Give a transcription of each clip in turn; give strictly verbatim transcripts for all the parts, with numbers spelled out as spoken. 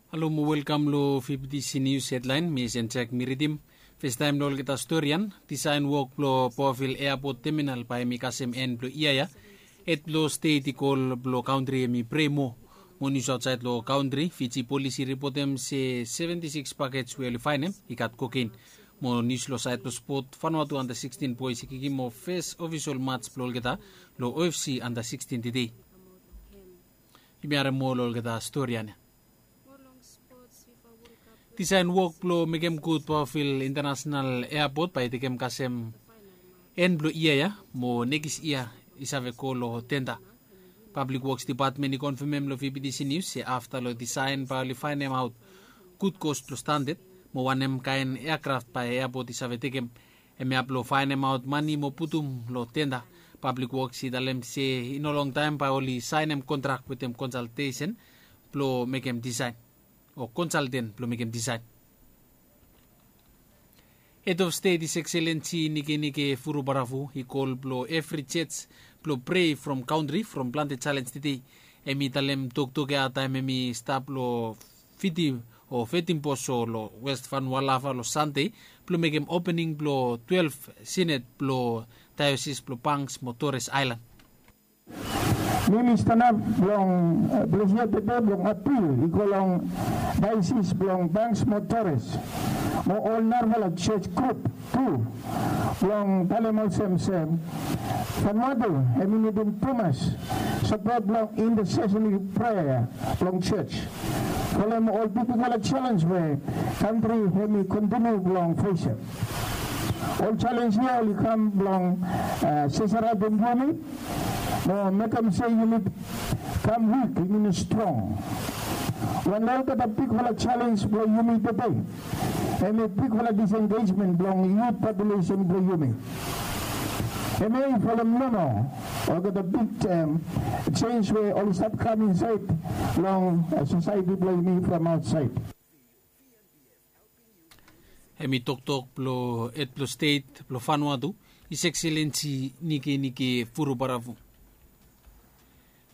Halo mo welkam long fifty c news hedlaen. Mi sen jek mi ridim. Festaem long olgeta storian, disaen wok blong pawafil eapot teminal bae mi kasem en blong yia ya. Hed blong stet i kol blong kantri em i prei moa. Mo nius aotsaed long kantri, fiji polis i ripotem se seventi siks pakets we oli faenem i gat kokein. Mo nius long saed blong spot, fanua tu anda sikstin boes i kikim of fes ofisol mats blong olgeta long ofc anda sikstin tedei. Yumi harem moa long olgeta storian ya. Disaen wok blong mekem gud pawafil intanasenal eapot bae i tekem kasem en blong yia ya, mo nekis yia i save go long tenda. Pablik woks dipatmen i konfemem long fibidisi nius se afta long disaen bae oli faenemaot gud kos blong standad mo wanem kaen eakraft bae eapot i save tekem. Hemia blong faenemaot mane mo putum long tenda. Pablik woks i talem se i no longtaem bae oli saenem kontrak wetem konsaltesen blong mekem disaen o konsalten blong mekem disaen. Hed of stet is ekselensi nikenike furubarafu i kol blong evri joj blong prei from kantri from plante jalens tedei. Hem i talem toktok ya taem hem i stap long fiti o fetim boso long west vanua lava long sande blong mekem opening blong twelef sinet blong daeosis blong banks mo tores aelan. Mi mi stanap blong blesia tede blong apil i go long daesis blong banks mo tores mo ol narafala joj grup tu blong talem olsem se fanua tu hem i nidim tumas sapot blong intasesen prea blong joj folem ol bigbigfala jalens we kantri hem i kontiniu blong fesem. Ol jalens ya oli kam blong sesaratem yumi mo mekem se yumi kam wik, yumi no strong. Wan olgeta bigfala jalens blong yumi tede hem i bigfala disengejmen blong yut populesen blong yumi. Hem ya i folem nomo olgeta big jens we oli stap kam insaed long sosaeti blong yumi from aotsaed. Hem i toktok blong hed blong stet blong fanua tu, is ekselensi nikenike furubarafu.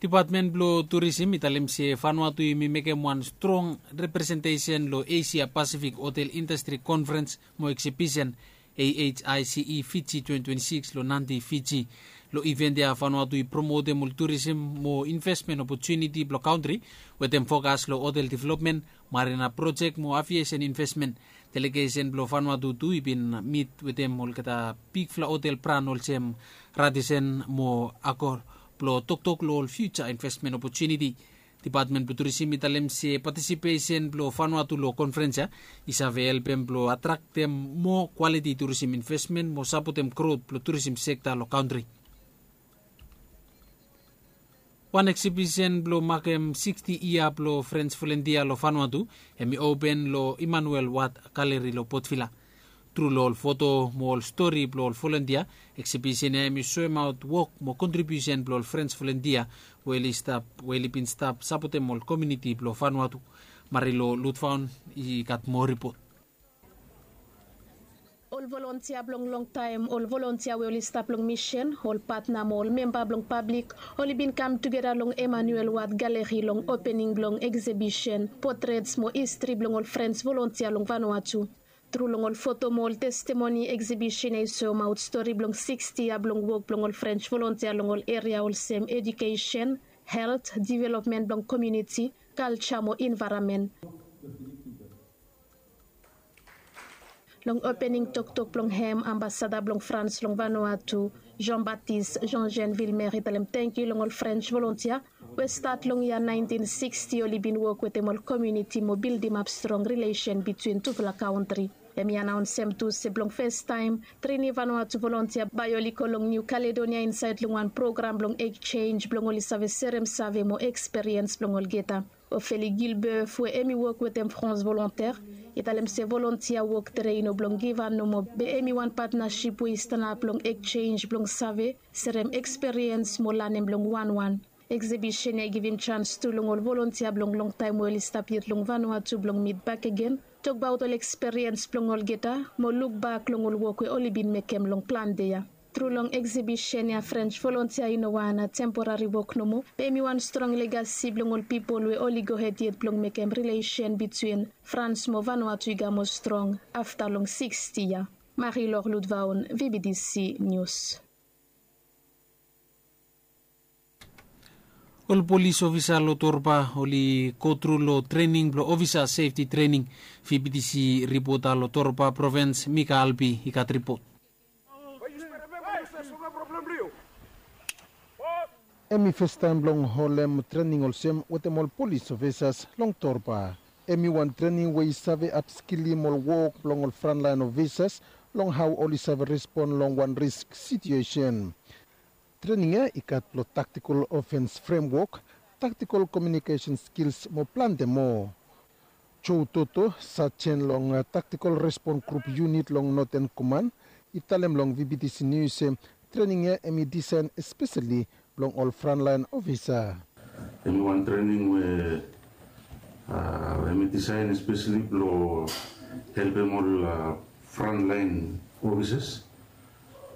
Dipatmen blong turisim i talem se fanua tu yumi mekem wan strong representesen long esia pasifik hotel indastri konferens mo eksibisen ahice fiji twenti twenti sikis long nandi fiji. Long iven ya fanua tu i promotem ol turisim mo invesmen opotuniti blong kantri wetem fokas long hotel developmen, marina projek mo aviesen invesmen. Delegesen blong fanua tu tu i bin mit wetem olgeta bigfala hotel bran olsem radisen mo akor blong toktok long ol fiuja invesmen opotuniti. Dipatmen blong turisim i talem se patisipesen blong fanua tu long konferens ya i save helpem blong atraktem moa kwaliti turisim invesmen mo sapotem grot blong turisim sekta long kantri. Wan eksibisen blong makem siksti yia blong frens volentia long fanua tu hem i open long emanuel wad galeri long potvila. Tru long ol foto mo ol stori blong ol volentia, eksibisen ya hem i soemaot wok mo kontribiusen blong ol frens volentia we oli bin stap sapotem ol komiuniti blong fanua tu. Marilo lutfaon i gat moa ripot. Ol volontia blong longtaem, ol volontia we oli stap long misen, ol patna mo ol memba blong pablik oli bin kam tugeta long emanuel wad galeri long opening blong eksibisen potrets mo histri blong ol frens volontia long vanua tu. Tru long ol foto mo ol testimoni, eksibisen ya i soemaot stori blong siksti yia blong wok blong ol frens volontia long ol eria olsem ejukesen, helt, developmen blong komiuniti, kalja mo envaeronmen. Long opening toktok blong hem, ambasada blong frans long vanua tu, jean baptiste jean jean vilmer i talem tangkiu long ol frens volontia we stat long yia naentin siksti oli bin wok wetem ol komiuniti mo bildimap strong rilesen bitwin tufala kantri. Hem i anaonsem tu se blong festaem tri niu vanua tu volontia bae oli go long niu kaledonia insaed long wan program blong ekjenj blong oli save serem save mo eksperiens blong olgeta. Ofeli gilbert we hem i wok wetem frans volonter i talem se volontia wok tede i no blong givan nomo be hem i wan patnasip we i stanap long ekjenj blong save, serem eksperiens mo lanem long wanwan. Eksibisen ya i givim jans tu long ol volontia blong longtaem we oli stap yet long vanua tu blong mit bakegen, tokbaot ol eksperiens blong olgeta mo lukbak long ol wok we oli bin mekem long plante ya. Tru long eksibisen ya French volontia i no wan temporari wok nomo, be hem i wan strong legasi blong ol pipol we oli gohed yet blong mekem rilesen bitwin Frans mo Vanuatu i gamo strong afta long siksti yia. Marilor Ludvaun, V B T C News. Ol polis ofisa long Torba oli go tru long trening blong ofisa sefti trening. V B T C ripota long Torba provins Mika Albi i gat ripot. Hem i festaem blong holem trening olsem wetem ol polis ofisas long Torba. Hem i wan trening we i save apskilim ol wok blong ol frontlaen ofisas long hao oli save respon long wan risk situesen. Trening ya i gat blong taktikol ofens fremwok, taktikol komiunikesen skils mo plante moa. Joe Toto, sajen long taktikol respon grup yunit long Noten Koman, i talem long V B T C Nius se trening ya hem i disaen espeseli blong ol frontlaen ofisa. Hem i wan trening we hem i disaen espeseli blong helpem ol frontlaen ofisas.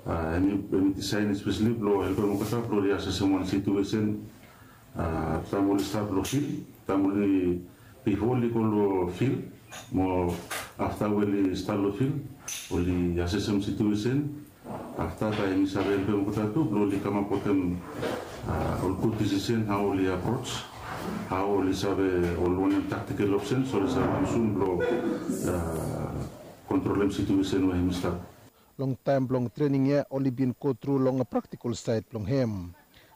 Hem i disaen espeseli blong helpem olgeta blong oli asesem wan situesen taem oli stap long fil, taem oli bifo oli go long fil mo afta we oli stap long fil, oli asesem situesen. Afta taem hem i save helpem olgeta tu blong oli kamap wetem ol gud disisen hao oli aproj, hao oli save ol wanem taktikel opsens oli save yusum blong kontrolem situesen we hem i stap. Long taem blong trening ya oli bin go tru long praktikol saed blong hem.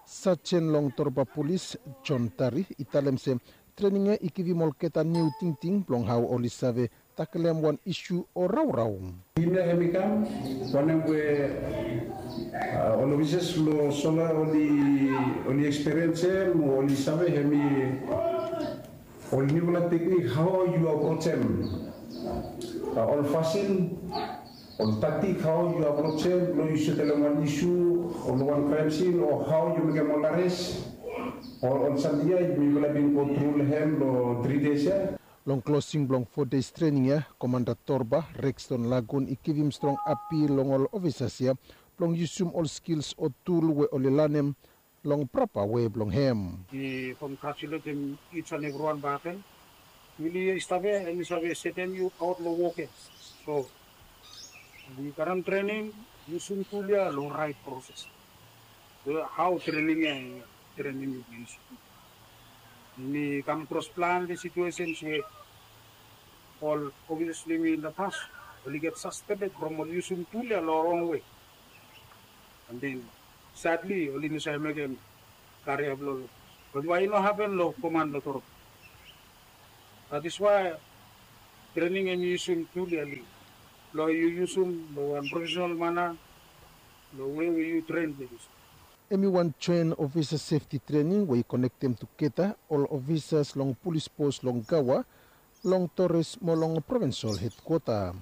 Sajen long Torba Polis John Tari i talem se trening ya i givim olgeta niu tingting blong hao oli save takelem wan isu o raorao. Tim ya hem i kam wanem we ol ofisas long sola oli eksperiensem o oli save hem i ol niufala teknik hao yu aprojem ol fasin, ol taktik hao yu aprojem blong yu setelem wan isu o long wan kraem sin o hao yu mekem ol ares o ol samting ya mifala bin go tru long hem long tri des ya. Long klosing blong fo des trening ya, Komanda Torba Rexton Lagun i givim strong apil long ol ofisas ya blong yusum ol skils o tul we oli lanem long prapa wei blong hem. I kongratuletem each and everyone baken. Wili i stap ya hem i save setem yu aot long wok ya. So yu karem trening, yusum tul ya long raet proses. Hao trening ya, trening yu yusum. Mi kam kros plante situesens we ol ofisas blong yumi in the past oli get saspended from ol yusum tul ya long rong wei. And then sadly oli no save mekem karia blong ol. Bat wai i no hapen long koman long Torba? That is why trening hem i yusum tul ya long yu yusum long wan profesenal mana long wei we yu tren blong yusum. Hem i wan joen ofisa sefti trening we i konektem tugeta ol ofisas long polis pos long Gawa, long Torres mo long provensol hedkwota.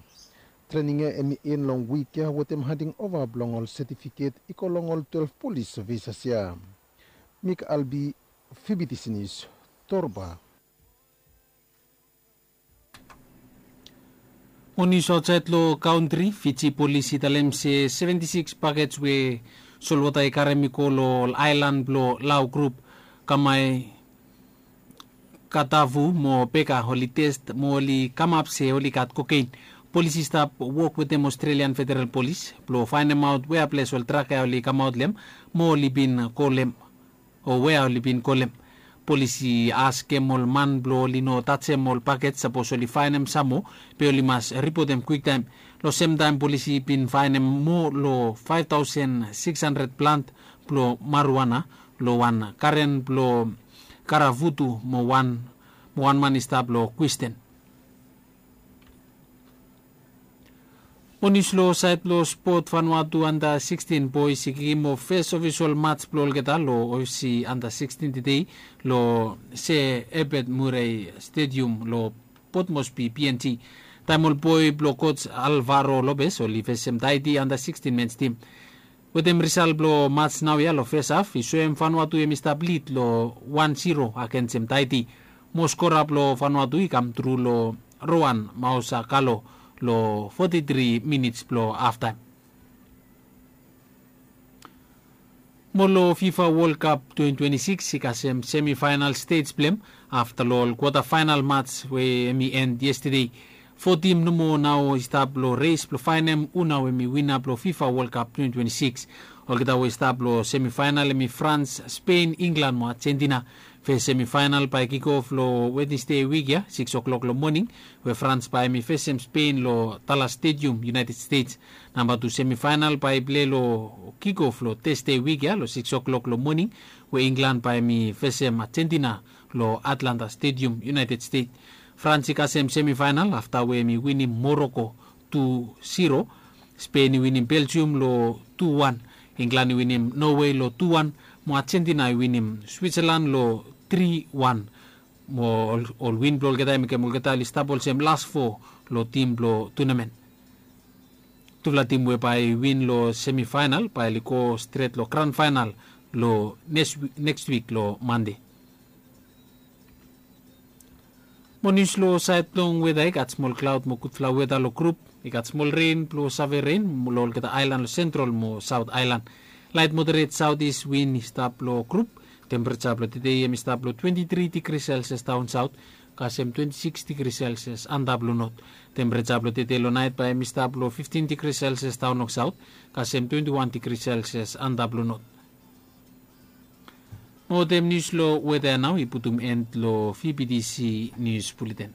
Trening ya hem i en long wik ya wetem handing ova blong ol setifiket i go long ol twelef polis ofisas ya. Mik Albi, V B T C Nius, Torba. Mo nius aotsaed long kantri, Fiji polis i talem se seventi sikis pakej we solwota i karem i go long ol aelan blong Lau grup, Kamai, Katavu mo Beka oli test mo oli kamap se oli gat kokein. Polis i stap wok wetem Australian Federal Polis blong faenemaot wea ples ol trak ya oli kamaot long hem mo oli bin go long hem, o wea oli bin go long hem. Polis i askem ol man blong oli no tajem ol pakej sapos oli faenem sam moa, be oli mas ripotem kwiktaem. Long semtaem polis i bin faenem moa long faef taosen sikis handred plant blong marijuana long wan garen blong Karavutu mo wan, mo wan man i stap long Kwisten. Mo nius long saed blong spot, Vanuatu anda sikstin boes i kikim of fes ofisol mats blong olgeta long Osi anda sikstin tedei long Sir Herbert Murray Stadium long Port Moresby, P N G. Taem ol boe blong coach Alvaro Lopez oli fesem Tahiti anda sikstin mens tim. Wetem risal blong mats naoia long fes haf i soem Vanuatu hem i stap lid long wan siro agensem Tahiti. Mo skora blong Vanuatu i kam tru long Rowan Mausakalo long foti tri minits blong haftaem. Mo long fifa wol kap twenty twenty six i kasem semifainal stej blong hem afta long ol kwota fainal mats we hem i end yestade. Fo tim nomo nao i stap long res blong faenem hu nao hem i wina blong fifa wol kap twenty twenty six. Olgeta we i stap long semifainal hem i frans, spen, inglan mo ajentina. Fes semifainal bae kikof long wednesde wik ya siks oklok long moning, we frans bae hem i fesem spen long talas stedium, united stets. Namba tu semifainal bae i plei long kikof long tesde wik ya long siks oklok long moning, we inglan bae hem i fesem ajentina long atlanta stedium, united stets. Frans i kasem semifainal afta we hem i winim moroko tu siro, spen i winim beljium long tu wan, inglan i winim nowe long tu wan, mo ajentina i winim switsalan long tri wan. Mo ol win blong olgeta i mekem olgeta oli stap olsem las fo long tim blong tunamen. Tufala tim we bae i win long semifainal bae oli go stret long gran fainal long neks wik long mande. Mo nius long saed blong weta i gat smol klaod mo gudfala weta long grup. I gat smol ren blong save ren long olgeta aelan long sentral mo saot aelan. Laet moderet saotis win i stap long grup. Tempereja blong tedei hem i stap long twenti tri digri selsias daon saot, kasem twenti siks digri selsias antap long not. Tempereja blong tedei long naet bae hem i stap long fiftin digri selsias daon long saot, kasem twenti wan digri selsias antap long not. Mo wetem nius long weta ya nao i putum en long vptc nius buleten.